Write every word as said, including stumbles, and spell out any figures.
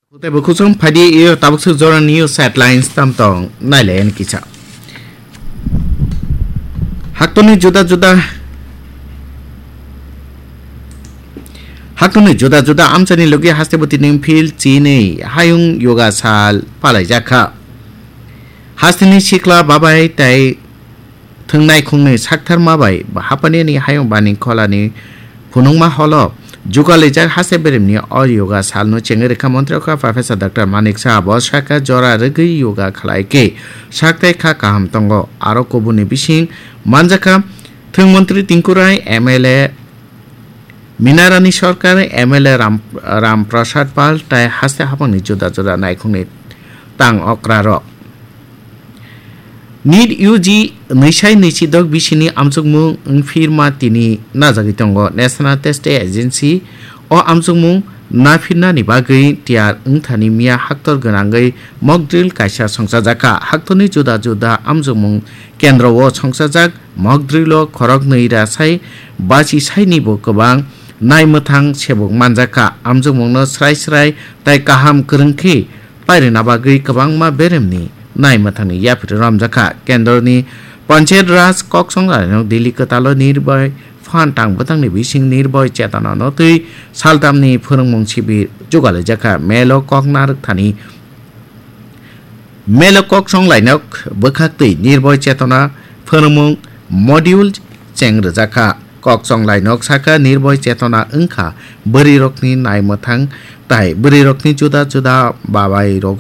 Tei bo kusum phaidi iyo tabuk suk jora news headlines tam tong nailai ani kisa. Haktoni juda juda Haktoni juda juda amchani logi haste bwtwi ning phil chinwi hayung yoga sal palai jakha. Hasteni sikla babai tei thwngnai khungnwi saktharma bai hapani ani hayung bani kholani phunukma holo jugalijak haste beremni o yoga salno chengwi rwkha montri okha Professor Doctor Manik Saha. Bo saka jora rwgwi yoga khlai khe sak tei kha kaham tongo. Aro kubuni bising manjakha thwng montri Tinku Rai, M L A Minarani Sarkar, M L A Ram, Ram Prasad Pal tei haste hapangni juda juda naikhungni tang okrarok. NEET U G nwisai nwisidok bisini amchukmung wngphirma tini najagwi tongo. National Testing Agency o amchukmung naphirnani bagwi tiyar wngthani miya haktor gwnangwi mock drill kaisa songchajakha. Haktorni juda juda amchukmung kendro o songchajak mock drill o khoroknwi rasai basi saini bo kwbang naimwthang sebuk manjakha. Amchukmungno srai srai tei kaham kwrwng khe pairwna bagwi kwbangma beremni naimwthangni yapri romjakha. Kendroni Panchayat Raj kok songlainok Delhi kwtalo Nirbhay phan tang bwtangni bising Nirbhay Chetana no twi saltamni phwrwngmung sibir jugalaijak kha. Melo kok narwk thani, melo kok songlainok bwkhak twi Nirbhay Chetana phwrwngmung module cheng rwjak kha. Kok songlainok saka Nirbhay Chetana wngkha bwrwirokni naimwthang tai bwrwirokni juda juda babairok